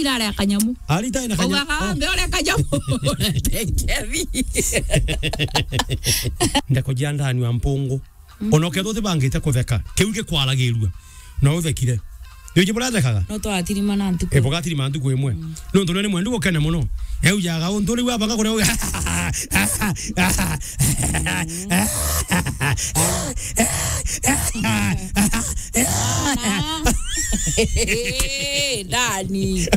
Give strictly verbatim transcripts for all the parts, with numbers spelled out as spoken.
Irare ya kanyamu. Arita ina kanyamu. Ugaga, oh, mbe ore kanyamu. Ndeko jia ndani wa mpungu. Mm. Ona ukethwa utibangite kutheka, kiu gikwaragirua. No uthekire. Njuji burathekaga? No twatirima na ntuku. E, bugatirima ntuku imwe. Mm. Nontu nene mwendu gukene muno. Eujaga untu riu abanga kuria. Ndani.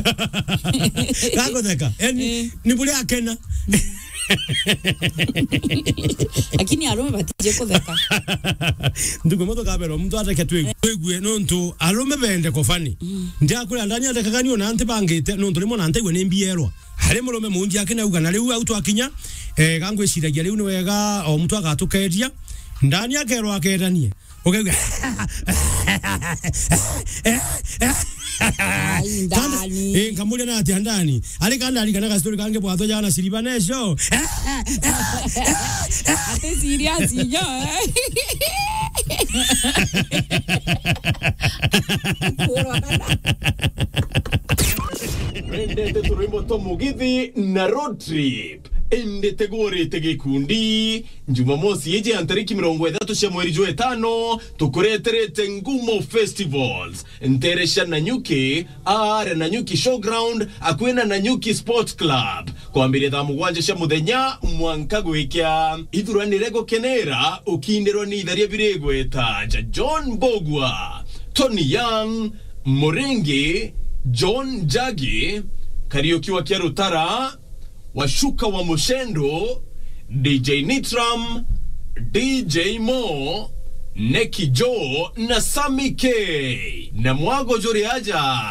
Gagutheka. Eni, eh, ni buria akena. Lakini arume batije kutheka. Ndugu, muntu kabera, muntu ateke twi-, twigue, nontu arume bende kofani. Mm. Ndiakwira ndani athekaga ni ona anti bangite, nontu rimwe na ntaigua ni mbierwa. Ari murume munji akinauga, na riu au twakinya, eh, gangwiciragia riu ni wega o muntu agatukeria. Ndani akerwa akeranie. Ukauga, ai, ndani. Eh, nkamuria na atia ndani. Ari kanda ari kana gastori kange bwatho jana siriba neco. Ati serious inyo, eh? Kurwa kana. Wendete turwimbo twa Mugithi na Road Trip? Indi tigurite gikundi. Jumamosi iji ya ntariki mirongo ithatu cia mweri jwa itano, tukureterete Ngumo Festivals, ntere cia Nanyuki, aare Nanyuki Showground, akui na Nanyuki Sport Club, kwambiria thaa mugwanja cia muthenya mwanka gwikia. Ithuranire gukenera ukindirwa ni itharia biri igweta ja John Mbugua, Tony Young, Muringi, John Njagi, Kariuki wa Kiarutara, Washuka wa Mushendo, D J Nitram, D J Mo, Neki Joe na Sammy K. Na mwago juri aja,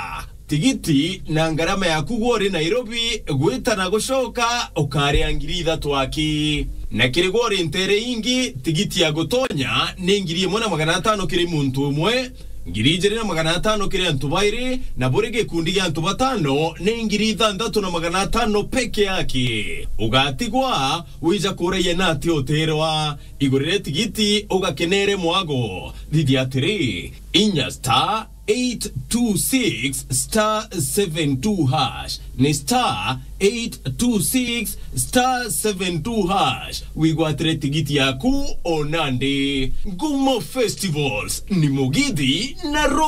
tigiti na ngarama yaku gwa uri Nairobi gwita na gucoka ukaria ngiri ithatu aki. Na kiri gwa uri ntere ingi, tigiti ya gutonya ni ngiri imwe na magana atano kiri muntu umwe, ngiri ijiri na magana atano kiri antu bairi, na buri gikundi gia antu batano ni ngiri ithanthatu na magana atano peke yake. Ugatigwa wija kuraia na ati utirwa. Igurire tigiti ugakenere mwago. Thithia atiri, inya star eight two six star seven two hash. Ni star eight two six star seven two hash. Wigwatire tigiti yaku o nandi. Ngumo Festivals ni Mugithi na Road